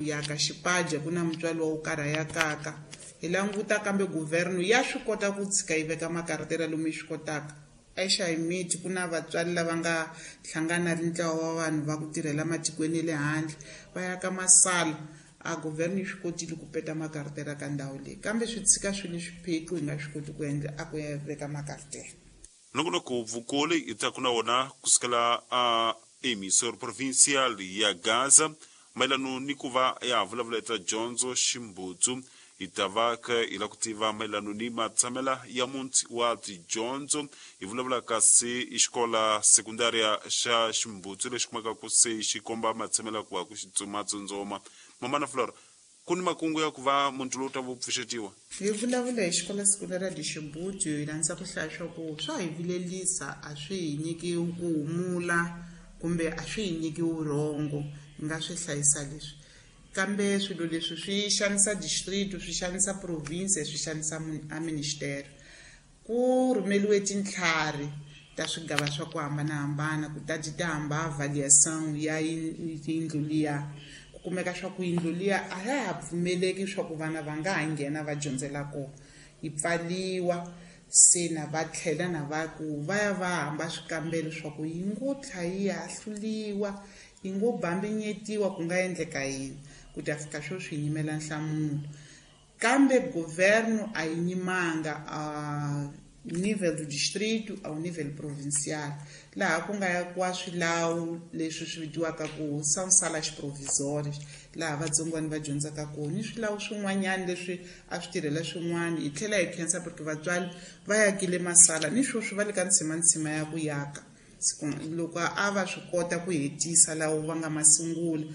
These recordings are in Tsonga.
Yaka xipaja ku na mutswari wa wo karhi a yakaka hi languta kambe guvherno ya swi kota ku tshika yi veka makaratela lomu yi swi kotaka. EXayimiti ku na vatswari lava nga hlangana ri ntlawa wa vanhu va ku tirhela matikweni ya le handle va yaka masala a guvherno yi swi kotile ku peta makaratela ka ndhawu leyi kambe swi tshika swi le swiphiqo hi nga swi koti ku endla a ku ya veka makaratela. Nongonoko vukoli hi taku na wona kusukela a Emissor Provincial ya Gaza mayelano ni ku va ya vulavula eta dyondzo ximbutsu hi ta va ka hi la ku tiva mayelano ni matshamela ya muti wa tidyondzo hi vulavula kasi i xikola sekundaria xa ximbutsu lexi kumekaka se xi komba matshamela ku va ku xi matsundzoma mamana Flora ku ni makungu ya ku va muti lowu ta vo pfuxetiwa. Hi vulavula hi xikola sekundaria de Xibutsu hi landza ku hlaya swa ku swa hi vilelisa a swi hi nyiki ku humula kumbe a swi hi nyiki vurhongo hi nga swi hlayisa leswi kambe swilo leswi swi xanisa district swi xanisa province swi xanisa a ministere. Ku rhumeliwe tintlhari ta swigava swa ku hambanahambana ku ta ti ta hamba avaliação ya yindlu liya ku kumeka swa ku yindlu liya a ya ha pfumeleki swa ku vana va nga ha nghena va dyondzela kona yi pfaliwa se na va tlhela na va ku va ya va hamba swikambelo swa ku yi ngo tlha yi hahluliwa yi ngo bambinyetiwa ku nga endleka yini ku ta fika sweswi hi yimela nhlamulo kambe governo a yi nyimanga a nível do distrito ao nível provincial laha ku nga yakiwa swilawu leswi swi vitiwaka ku são salas provisórias laha vatsongwana va dyondzaka kona ni swilawu swin'wanyana leswi a swi tirhela swin'wana hi tlhela hi khensa porque vatswari va yakile masala ni sweswi va le ka ntsimantsima ya ku yaka loko a va swi kota ku hetisa lawo va nga ma sungula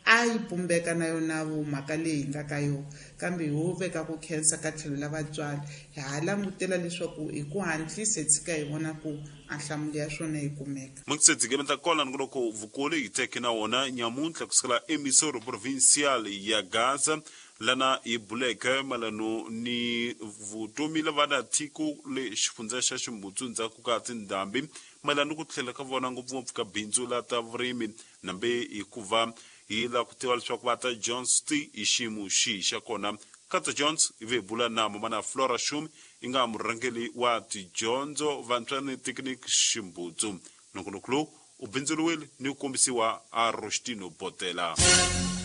a yi pumbeka na yona vo mhaka leyi hi nga ka yona kambe ho veka ku khensa ka tlhelo la vatswari hi ha langutela leswaku hi ku hatlisa hi tshika hi vona ku a nhlamulo ya swona yi kumeka. Mukisedzikeme ta kona nongonoko vukulu hi teke na wona nyamuntlha kusukela emisoro provincial ya Gaza lana hi buleke mayelano ni vutomi la vana tiko le xifundza xa Ximbutsu ndzhaku ka tindhambi mayelana ni ku tlhela ka vona ngopfungopfu ka bindzu la ta vurimi nambe hikuva hi lava ku tiva leswaku va ta Jones ti hi xiyimo xihi xa kona Kata Jones hi ve hi bula na mamana Flora Shumi i nga murhangeri wa tidyondzo vantshwa ni Teknik Ximbutsu nongonoko lowu u bindzuriwile ni ku kombisiwa a Rostino Botela.